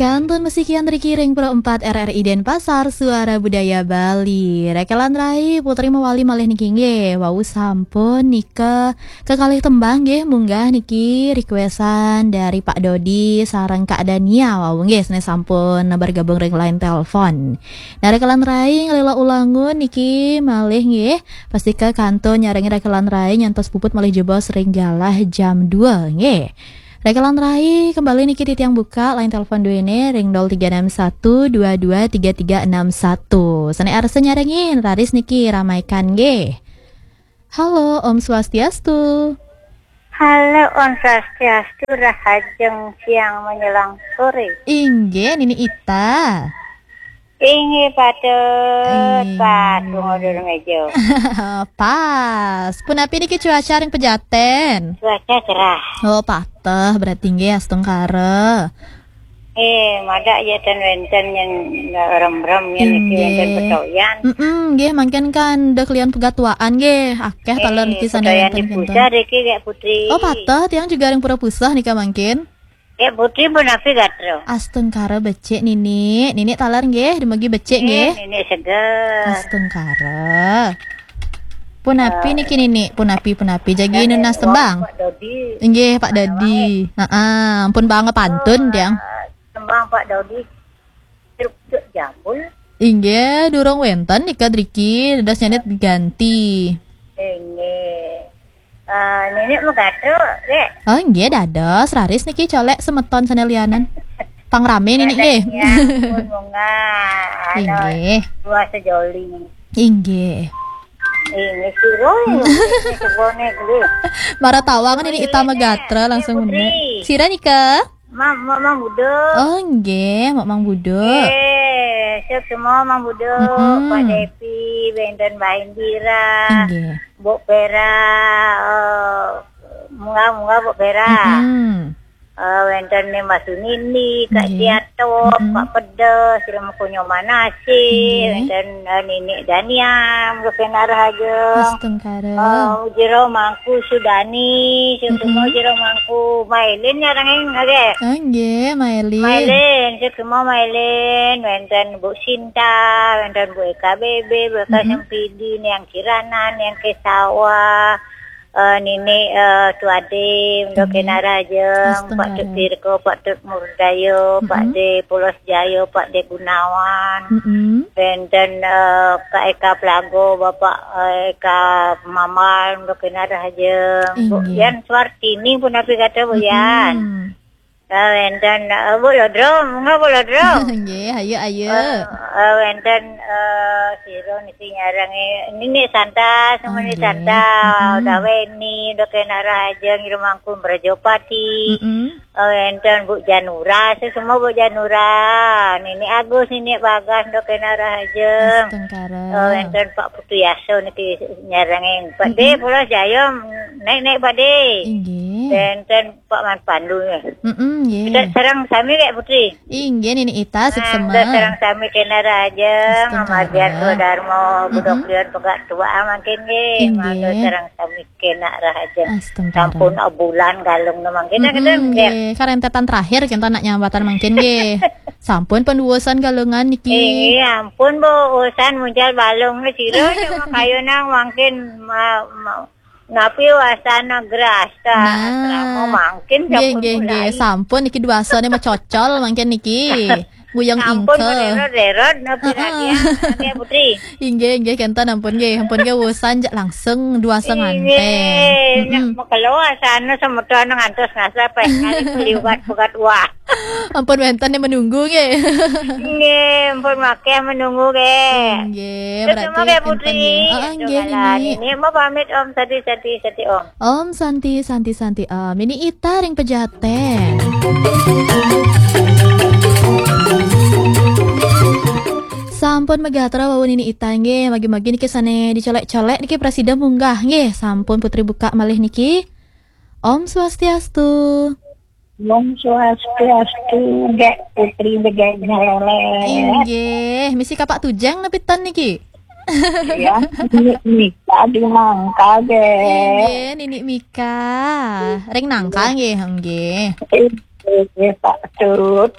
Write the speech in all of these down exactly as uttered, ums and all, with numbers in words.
Kantun mesikian riki ring Pro empat R R I Denpasar, Suara Budaya Bali. Rekelan rai Putri mawali malih niki nggih. Wau sampun nika kekalih tembang nggih, munggah niki requestan dari Pak Dodi sareng Kak Dania. Wau nggih, sane sampun bergabung ring line telepon. Nah, rekelan rai ngalila ulangun niki malih nggih. Pastika kantun nyarengi rekelan rai nyantos puput malih jebos ring galah jam dua nggih. Rekelan rai kembali niki titiang buka line telepon duene ring nol tiga enam satu dua dua tiga tiga enam satu. Sane arsa nyarengin, raris niki ramaikan nggih. Halo, Om Swastiastu. Halo, Om Swastiastu, rahajeng siang menjelang sore. Inggih, Nini Ita. Inggih, patut, Ing- pas, tunggu dulu meja. Pas. Punapi niki cuaca ring Pejaten? Cuaca cerah. Oh, pateh berarti nggih, astungkara. Eh, madak ya ten wenten yang remrem yang niki wenten Inggih. Petoyan. Mm-mm, nggih, mangkin kan dah kalian pegatuaan nggih. Akeh taler Eh, niki sane petoyan wenten di kinten. Pusar iki, Kak Putri. Oh, pateh tiang juga ring Pura Puseh nika mangkin. Kak Putri punapi gatra? Astungkara becik, Nini. Nini taler nggih, dumugi becik Eh, nggih. Nini seger. Astungkara. Punapi niki, Nini? Punapi, punapi. Jagi nunas tembang. Pak Dodi. Inggih, Pak Dodi. Heeh, ampun banget pantun, tiang. Tembang Pak Dodi. Truk jambul. Inggih, durung wenten nika driki, dados nyanet ganti. Inggih. Eh, Nini mau gatra, Kak? Oh, inggih, dados. Raris niki colek semeton sane lianan. Pangrame Nini nggih. Ya, pun munggah. Anu, Inggih. Dua sejoli. Inggih. Ini sira, ini sebone kuwi. Mara tawang Nini Ita Megatra langsung Putri. Sira nika? Ma-, ma-, Mang Budo. Oh, nggih, Mak Mang Budo. Eh, sukses semua Mang Budo, Mm-mm. Pak Devi, wenten Mbah Indira, Nggih. Mbok Vera, eh, munggah-munggah Mbok Vera. Mm-mm. Eh, wenten nih Mas Sunini, Kak Nggih. Siato, Mm-mm. Pak Pedes, Remo Kunyo Manase, Nggih. Wenten, eh, Nini Daniam, Rufin Arhajeng. Astungkara. Eh, Jero Mangku Sudani, sing Mm-mm. semua Jero Mangku Mailin ya, Rengeng, nggih. Ah, nggih, Mailin. Mailin, sing semua Mailin, wenten Bu Sinta, wenten Bu Eka Bebe, Bu Eka Mm-mm. Sempidi, Niang Kirana, Niang Kesawa, eh, Nini, eh, Tuade, Mendo Nggih. Kenarajeng, Pak Astungkara. Tut Tirko, Pak Tut Murdayo, Pak Mm-mm. De Pulos Jayo, Pak De Gunawan. Mm-mm. Wenten, eh, Kak Eka Plago, Bapak, eh, Eka Mamal, Mendo Kenarajeng. Bu Inggih. Yan Suartini punapi gatra, Bu Yan. Mm-mm. Eh, wenten, eh, Bu Lodro, monggo Bu Lodro. Nggih, ayo, ayo. Eh, eh, wenten, eh, sira niki nyarengin Nini Santa, semua Nini Nggih. Santa, Mm-mm. Daweni, Mendo Kenarajeng, Irmangku Mrejopati. Mm-mm. Eh, wenten Bu Janura, semua Bu Janura, Nini Agus, Nini Bagas, Mendo Kenarajeng. Astungkara. Eh, wenten Pak Putu Yaso niki nyarengin. Pak De, Mm-mm. Pulau Jaya, naik-naik Pak De. Inggih. Wenten Pak Man Pandu nggih. Mm-mm, nggih. Kita sareng sami, Kak Putri. Inggih, Nini Ita, nah, suksema. Kita sareng sami kena raja, Astungkara. Ngamargian Swadarma, Mm-mm. Budok Lian Pegak Tua mangkin nggih. Inggih. Mangga sareng sami kena raja. Astungkara. Sampun bulan galung no mangkin, mm-mm, kita nggih. Nggih. Karentetan terakhir kita nak nyambatan mangkin nggih. Sampun penduosan galungan niki. Inggih, ampun Bu, usan muncal balung ni sira cuma kayu nang mangkin ma-, ma-, Napi wasana grasa. Nah. Asrama mangkin nggih, sampun nggih, mulai. Nggih. Sampun niki duasane macocol mangkin niki. Nguyang sampun ingkel. Mererot-rerot napi. Heeh. Lagi ya, Putri. Inggih, inggih, kenten ampun nggih. Ampun nggih wusan jak langsung duasa nganten. Inggih, mm-mm. Nak makelo asana semeton ngantos ngasa peh kali beli ubat-ubat wah. Ampun wenten yang menunggu nggih. Nggih, ampun makeh menunggu nggih. Nggih, terus berarti mau kayak kenten Putri. Nggih. Oh, nggih, Nini. Nini mau pamit Om, Sati, Sati, Sati Om. Om Santi, Santi, Santi Om. Nini Ita ring Pejaten. Sampun megatra wau Nini Ita nggih, magi-magi niki sane dicolek-colek niki prasida munggah nggih. Sampun Putri buka malih niki. Om Swastiastu. Om Swastiastu, Gek Putri Begek Nyelele. Inggih, misi kapak tujang napi ten niki? Ya, Nini Mika di Nangka, Gek. Inggih, Nini Mika. Ring Nangka nggih, nggih. Eh, Nggih, Pak Tut.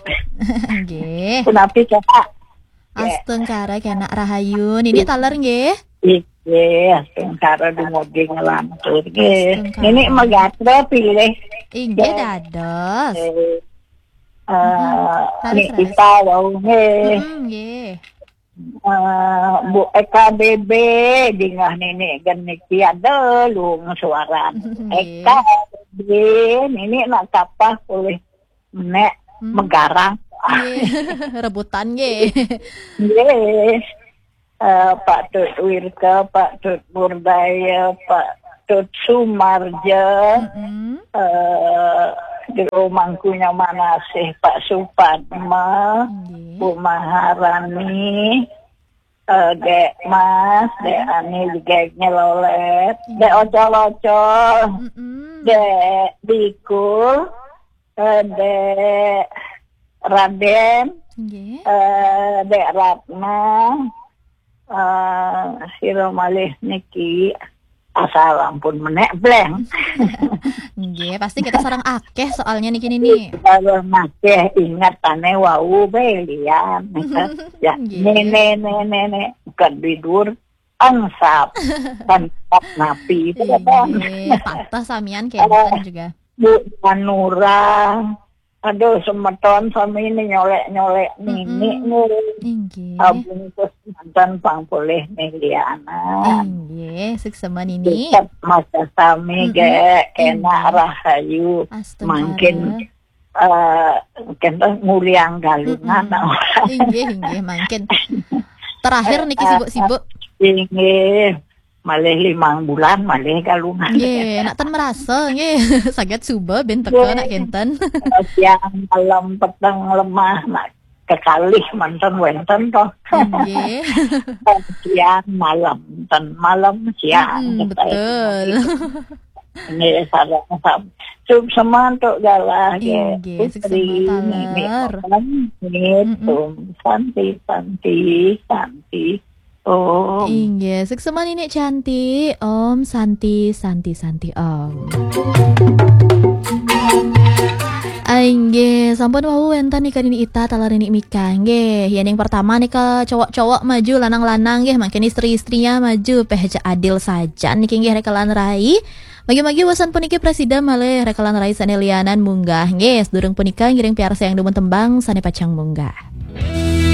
Nggih. Punapi, Kak? Astungkara kenak rahayu. Nini taler nggih. Nggih, astungkara dumugi nglantur nggih. Astungkara. Nini magatra pilih. Inggih dados. Eh, Leres, Nini leres. Ita wau nggih. Mm, nggih. Eh, Bu E K B B, dingah nini gen niki ada lung suaran. Nggih. E K B B, nini nak kapah pulih nek Hmm. megarang. Nggih. Rebutan nggih. Nggih. Eh, Pak Tut Wirka, Pak Tut Burdaya, Pak Tut Sumarja, Mm-mm. eh, Jero Mangkunya Manasih, Pak Supadma, Nggih. Bu Maharani, eh, Dek Mas, Dek Ani, Dek Nyelolet, Dek Ocol-ocol, Mm-mm. Dek Bikul, eh, Dek Raden, Nggih. eh, Dek Ratna, eh, sira malih niki asal ampun menek blank. Nggih, pasti kita sareng akeh soalnya niki nini. Kalau masih ingat ane wau be lian. Ya, Nggih. Nene, nene, nene, bukan bidur, angsap, angsap napi itu kan. Nggih, patah samian kenten juga. Bu Manura, aduh semeton sami ini nyolek-nyolek nini Mm-mm. nih. Inggih. Abungkus mantan pang polih nih lianan. Inggih, suksema nini. Tetap masa sami Mm-mm. ge enak Inggih. Rahayu. Astungkara. Mangkin eh kita nguliang galungan. Mm-mm. Inggih, inggih, mangkin terakhir niki sibuk-sibuk. Inggih. Malih limang bulan malih galungan. Nggih, nak ten merasa nggih. Saget suba ben teka nak kenten. Siang malam peteng lemah nak kekalih manten wenten toh. Nggih. Siang malam ten malam siang. Mm-mm, betul. Ini sareng sam. Suksema untuk galah nggih. Inggih, Putri, suksema Nini, taler. Om, nggih, Mm-mm. Om, Santi, Santi, Santi. Om. Inggih, suksema nini Cantik. Om Santi, Santi, Santi Om. Ah, inggih, sampun wau wenten nika nini Ita taler nini Mika nggih. Yen yang pertama nika cowok-cowok maju, lanang-lanang nggih, mangkin istri-istrinya maju, peh aja adil saja niki nggih rekelan rai. Magi-magi wasan puniki presida malih rekelan rai sane lianan munggah nggih. Sedurung punika ngiring piarsa yang dumun tembang sane pacang munggah.